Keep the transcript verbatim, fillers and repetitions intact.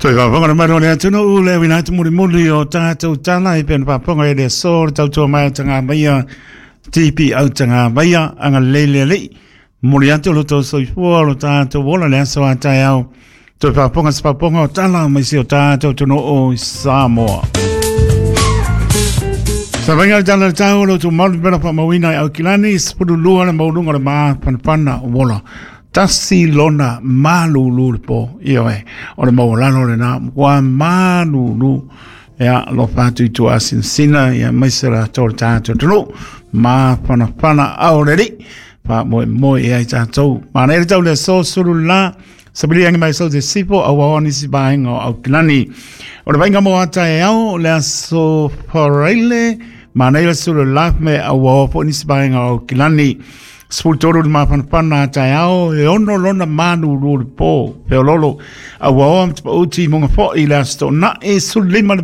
Toe faafofoga le mamalu o le atunuu le uiga atu mulimuli o tatou tala e pei ona faafofoga i le aso le tautua mai a Tagamaia T P au Tagamaia agalelei le Alii. Momoli atu lo outou soifua o lo tatou ola le aso a taeao. Toe faafofoga se faafofoga o tala mai si o tatou atunuu i Samoa. Sa vainga le tala le tau o lo outou malu pela faamauina i Aukilani, sefululua le maualuga o le mafanafana o ola. Tasi lona malulu le po, ioe, o le maualalo lena, ua malulu. Ia, alofa atu i tua asinasina, ia maise latou le tatou atunuu, mafanafana ao le Alii, faamoemoe i ai tatou. Manaia le tau le aso sulu la, sabilia agi mai sau te sipo, au ao nisi vaega o Aukilani. O le vaaiga mo ataeao, le aso Faraile, manaia le sulu la me au ao po nisi vaega o Aukilani. Sefulu tolu le mafanafana ataeao, e ono lona malulu le po, feololo. Au ao ma te pauti monga foi le aso Toonai, sefulu lima le